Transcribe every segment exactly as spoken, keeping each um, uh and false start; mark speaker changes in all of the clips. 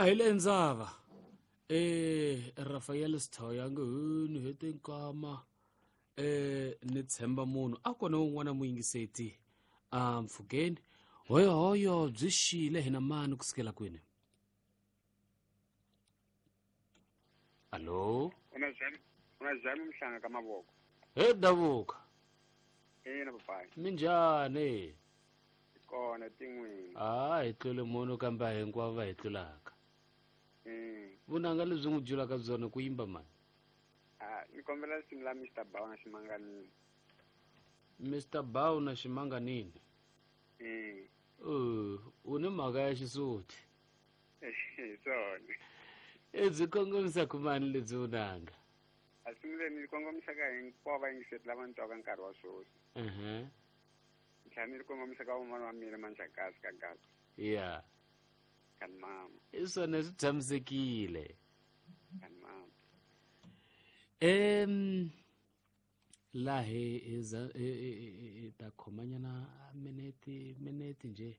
Speaker 1: A hi le ndzava eh Rafael Sithoya nge ni hete nkama eh ni tshemba munhu a kona un'wana muyingiseti a mpfhukeni hoyo hoyo byi xile hina mani kusukela kwini. Allo
Speaker 2: una zami una zami mhlanga ka mavoko
Speaker 1: he davuka
Speaker 2: ina papai
Speaker 1: minjhani
Speaker 2: kona tin'wini
Speaker 1: a hi tlule munhu kambe a hinkwavo va hi tlulaka vunanga lebyi n'wi julaka byona ku yimba mani
Speaker 2: a ni kombela risimu la Mister Bow na Ximanganini.
Speaker 1: Mister Bow na Ximanganini
Speaker 2: mm
Speaker 1: uh u ni mhaka ya xisuti
Speaker 2: hi swona
Speaker 1: e byi kongomisa ku mani lebyi vunanga
Speaker 2: a risimu leri ni kongomisaka hinkwavo vayingiseri lava ni twaka nkarhi wa sweswi
Speaker 1: uh-huh.
Speaker 2: ni tlhela ni ri kongomisaka van'wana wa mina Manjakazi ka Gaza
Speaker 1: ya
Speaker 2: kani mama
Speaker 1: i swona swi tshamisekile
Speaker 2: kani mama
Speaker 1: em laha hi hi ta khomanyana minete minete nje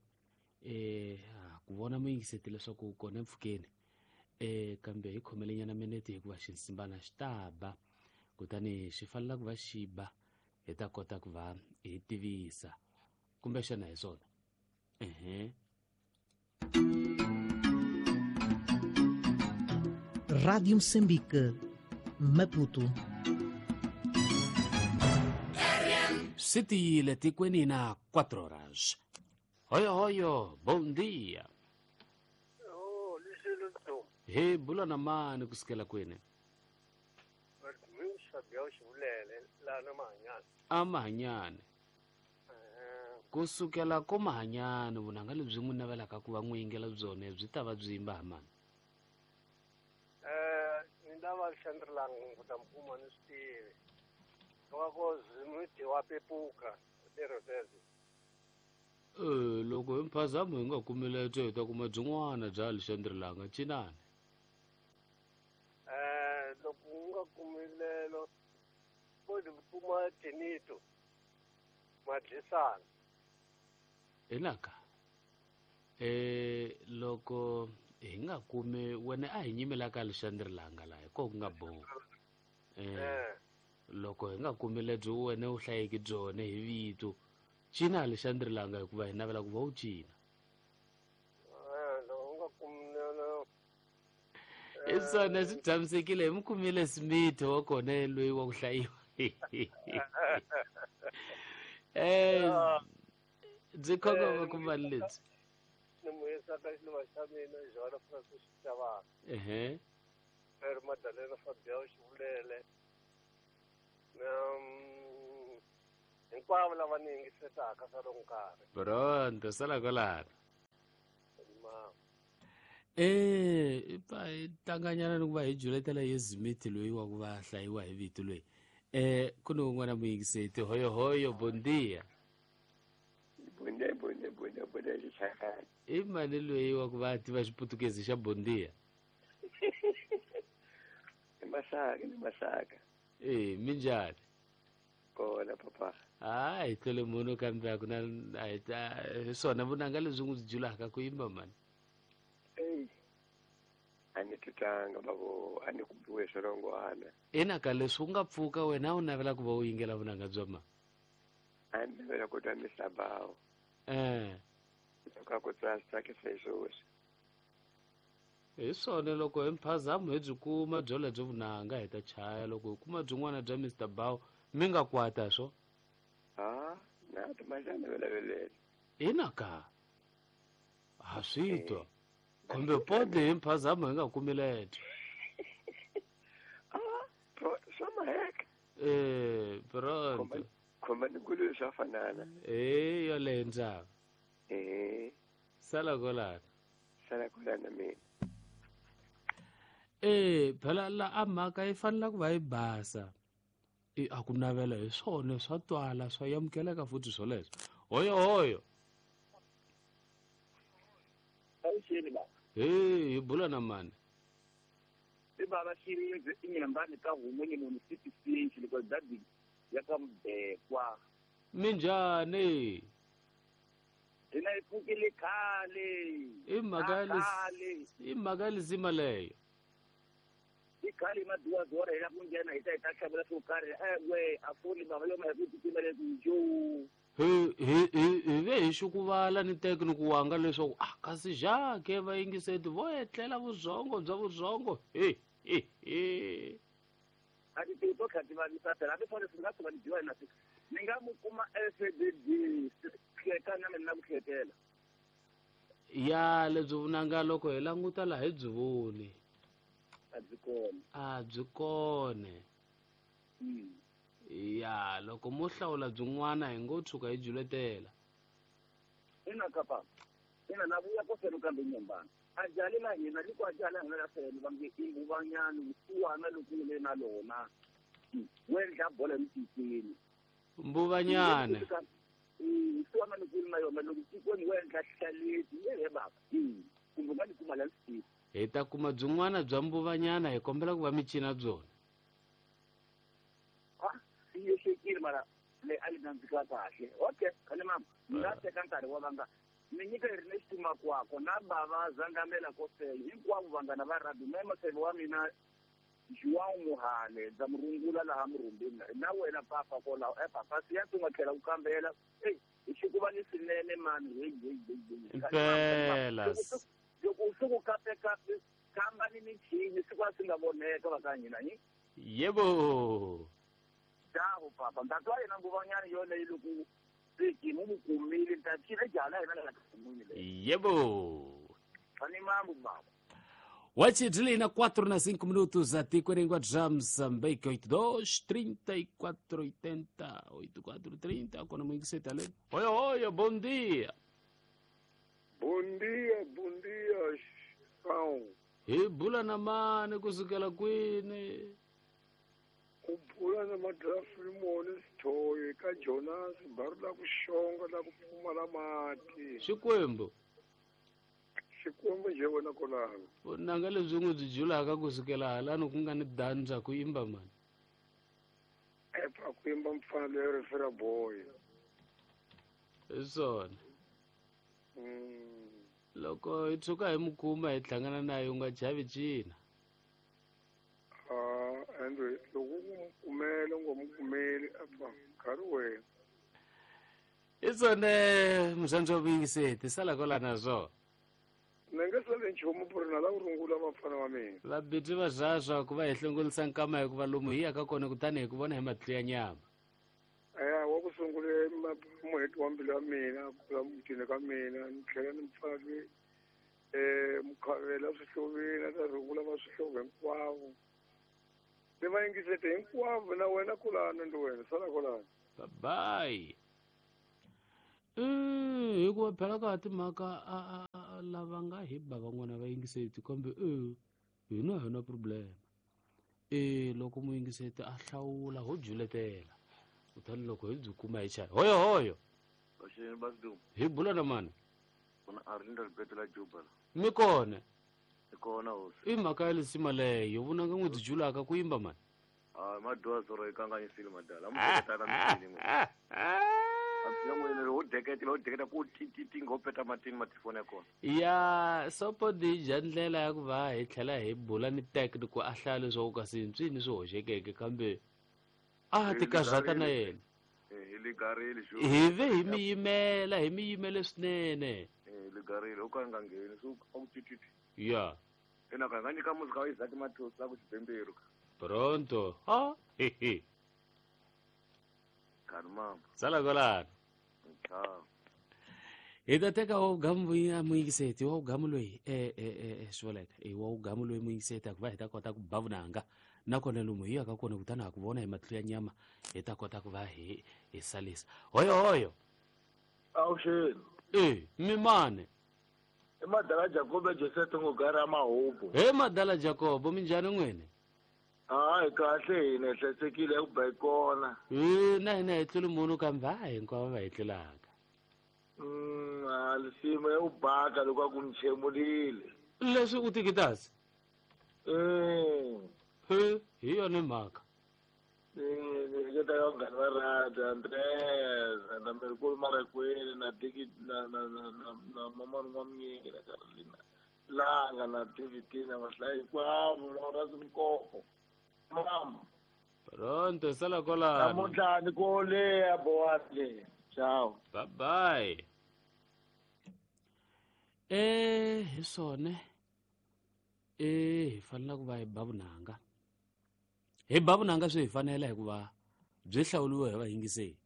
Speaker 1: eh ku vona muyingiseti leswaku kona empfhukeni eh kambe hi khomelenyana minete hikuva xinsimbana xi ta ba kutani xi fanela ku va xi ba hi ta kota ku va hi tivisa kumbexana hi swona ehe.
Speaker 3: Rádio Moçambique, Maputo.
Speaker 1: Swi tiyile tikweni na quatro horas. Hoyo hoyo, bom dia.
Speaker 4: Oh, lexilo
Speaker 1: He bula na mani kusukela kwini? A Mahanyane. Kusukela ko Mahanyane vunanga lebyi n'wi navelaka ku va n'wi yingela byona byi ta va byi yimba ha mani?
Speaker 4: Eh, ni lava Xandrilang ku ta mi kuma ni swi tivi. Loko Zimiti wa pepuka lero lero.
Speaker 1: Eh, loko hi mphazamo hi nga kumile byo hi ta kuma byin'wana bya Lexandrilanga cinani.
Speaker 4: Eh, loko u nga kumilelo ko ni kuma Tinito Madlisana.
Speaker 1: Hinaka eh loko hi nga kumi wena a hi nyimelaka Lexandrilanga laha hi ko ku nga boha. Eh loko hi nga kumi lebyi wena u hlayeki byona hi vito cina Lexandrilanga hikuva hi navela ku va u cina.
Speaker 4: Eh loko u nga kumilelo
Speaker 1: i swona swi tshamisekile hi mi kumile Smith wa kona loyi wa ku hlayiwa. Eh byi khongoma ku mali lebyi
Speaker 4: ni muyisa ka xiluva xa mina Joana Francis Xicavana.
Speaker 1: Ehe
Speaker 4: Pero Madalena Fabião Xivulele na hinkwavo lava ni yingisetaka swa loko nkarhi.
Speaker 1: Pronto sala kwalano. Eh i tlanganyana ni ku va hi juletela ye Smith loyi wa ku va hlayiwa hi vito loyi. Eh ku ni un'wana muyingiseti hoyo hoyo bom dia.
Speaker 5: Bom dia, bom dia, bom dia, bom dia, Xixakani.
Speaker 1: I mani loyi wa ku va tiva xiputukezi xa bom dia?
Speaker 5: I Masaka, ni Masaka.
Speaker 1: Eh minjhani?
Speaker 5: Kona papa.
Speaker 1: Ah hi tlule munhu kambe a ku na a hi ta hi swona vunanga lebyi n'wi julaka ku yimba mani.
Speaker 5: Eyi a ni twitanga bavo a ni ku biwe swirhongwana.
Speaker 1: Ina ka leswi u nga pfuka wena u navela ku va u yingela vunanga bya mani?
Speaker 5: A ni navela ku twa Mister Bow.
Speaker 1: Eh
Speaker 5: loko a ku tsasa tsakisa hi sweswi.
Speaker 1: Hi swona loko hi mphazamo hi byi kuma byo lebyo vunanga hi ta chaya loko hi kuma byin'wana bya Mister Bow mi nga kwata swo.
Speaker 5: Ah na timajana velavelele.
Speaker 1: Ina ka ha swi twa kumbe pode hi mphazamo hi nga kumi lebyo.
Speaker 5: Ah pro swa maheka.
Speaker 1: Eh pronto.
Speaker 5: Khomba ni nguluve swa fanana.
Speaker 1: Eh yoleyo ndzava.
Speaker 5: Eh
Speaker 1: sala kwalano.
Speaker 5: Sala kwalano mina.
Speaker 1: Eh phela la a mhaka yi fanela ku va yi basa. I a ku navela hi swona swa twala swa amukeleka futhi swoleswo. Hoyo hoyo. Hey hi bula na mani?
Speaker 6: I bava Xirindze i Nyembani ka Humunye municipality loko dadi ya ka Mbekwa.
Speaker 1: Minjhani?
Speaker 6: Hina hi pfukile khale.
Speaker 1: I mhaka ya i mhaka ya lisima leyo.
Speaker 6: I khale maduwaduwa ra hina ku nghena hi ta hi ta xavela swo karhi ewe a foni bava yo ma hi ku titimele ku jo.
Speaker 1: Hi hi hi hi ve hi xukuvala ni teki ni ku wanga leswaku a kasi Jacques va yingiseti vo etlela vuzongo bya vuzongo he he he.
Speaker 6: A ti to kha ti vavisa phela hambi foni swi nga tshuka ni dyiwa hi na ni nga mu kuma S D D hleka na mina ku hlekela.
Speaker 1: Ya lebyi vunanga loko hi languta laha hi byi voni.
Speaker 6: A byi kona.
Speaker 1: A byi kona. Ya loko mo hlawula byin'wana hi ngo tshuka hi juletela.
Speaker 6: Ina kapa. Ina na vuya ko felo kambe nyembana. A jali la hina ri ku a jali hina la felo va nge i mbuvanyana vusiwana loko le na lona. Wendla bola mtikweni.
Speaker 1: Mbuvanyana.
Speaker 6: Vusiwana loko na yona loko tikweni wendla hlaleti ye baba. Kumbe nga ni kuma la swi.
Speaker 1: Hi ta kuma byin'wana bya mbuvanyana hi kombela ku va mi cina byona.
Speaker 6: Mara le a li nandzika kahle. Okay, khale mama ni nga teka nkarhi wa vanga ni nyika hi ri ni xitumakwako na bava zangamela ko fela hinkwavo vanghana va rugby me maseve wa mina João Muhale ndza murungula laha murhumbini na wena papa kwalaho e papa siya tu nga tlhela ku kambela eyi hi xikuva ni swinene mani heyi heyi heyi
Speaker 1: impela
Speaker 6: loko swi ku kapekape kamba ni michini siku a swi nga voneka va ka hina hi
Speaker 1: yebo.
Speaker 6: Dawo papa ntatwa yena nguvanyana yoleyo loko seki mu kumile ta cina jala yena la kumile
Speaker 1: yebo
Speaker 6: ani mambo baba
Speaker 1: Wachidlina quatro na cinco minutos a Ticoringua Moçambique oito dois trinta e quatro oitenta oito quatro trinta quando muito se tá lendo. Oi oi, bom dia.
Speaker 7: Bom dia, bom dia, João.
Speaker 1: E bula na mane kusukela kwini.
Speaker 7: Ku bula na madrafimoni sithoyi ka Jonas baru la ku xonga la ku pfumala mati.
Speaker 1: Xikwembu.
Speaker 7: Xikwembu nje wena kolano.
Speaker 1: Vunanga lebyi n'wi byi julaka kusukela halani ku nga ni dandza ku yimba mani.
Speaker 7: Epa ku yimba mfana loyi refera boy.
Speaker 1: Hi swona. Loko hi tshuka hi mu kuma hi hlangana na ye u nga chavi cina.
Speaker 7: Ende loko u mu kumela u nga mu kumeli apa nkarhi wena.
Speaker 1: Hi swona murhandzi wa vuyingiseti sala kwala na swona.
Speaker 7: Ni nge sali nchumu ku ri na la ku rungula vafana va mina.
Speaker 1: Vabitsi va zvazva ku va hi hlongolisa nkama hikuva lomu hi yaka kona kutani hi ku vona hi matihlo ya nyama.
Speaker 7: Eya wa ku sungule muheti wa mbilu ya mina ku la mutini ka mina ni tlhela ni mfana loyi um mukhavela swihloveni a ta rungula va swihlovo hinkwavo. Ni va yingisete hinkwavo na wena kulana ndi wena sala kulana.
Speaker 1: Bye bye. Eh hikuva phela ka timhaka a lava nga hi ba van'wana va yingiseti kambe e hina hina problem. E loko muyingiseti a hlawula ho juletela kutani loko hi byi kuma hi chaya hoyo hoyo. Hi bula na mani? Mi kona? I mhaka ya lisima leyo vunanga n'wi byi julaka ku yimba mani.
Speaker 5: A maduwa yi kanganyisile madala a mutana mitini
Speaker 1: ya sopo dija ndlela ya ku va hi tlhela hi bula ni teki ku a hlaya leswaku kasi ntswini swi hoxekeke kambe a ti karhata na yena hi ve hi mi yimela hi mi yimele swinene ya pronto ha hehe sala kolana. Hi ta teka wa wugamu muyingiseti wa wugamu loyi e e e swi vuleka e wa wugamu loyi muyingiseti ku va hi ta kota ku ba vunanga nakona lomu hi yaka kona kutani ha ku vona hi matihlo ya nyama hi ta kota ku va hi hi salisa hoyo hoyo.
Speaker 8: Awuxeni.
Speaker 1: E mi mane
Speaker 8: i madala Jacobo Joseph Ngogara Mahubu.
Speaker 1: He madala Jacobo minjhani n'wini?
Speaker 8: Hayi kahle hina hi hlayisekile ku ba hi kona.
Speaker 1: E na hina hi tluli munhu kambe a hinkwavo va hi tlulaka.
Speaker 8: Mm, a lisimo ya u baka loko a ku ni chemulile.
Speaker 1: Leswi u tikitasi?
Speaker 8: Mm.
Speaker 1: He hi yona mhaka.
Speaker 8: Ni ni hleketa ka vanghana va radio Andres na Merikulu Marakweli na Diki na na na na na Mama N'wamnyiki na Carolina Langa na David na vahlayi hinkwavo na Horace Mkopo. Mama.
Speaker 1: Pronto sala kwalano.
Speaker 8: Namuntlha ni ko le bowani le. Ciao.
Speaker 1: Bye bye. Eh hi swona eh hi fanele ku va hi ba vunanga. Hi ba vunanga swi hi fanela hikuva byi hlawuriwe hi vayingiseri.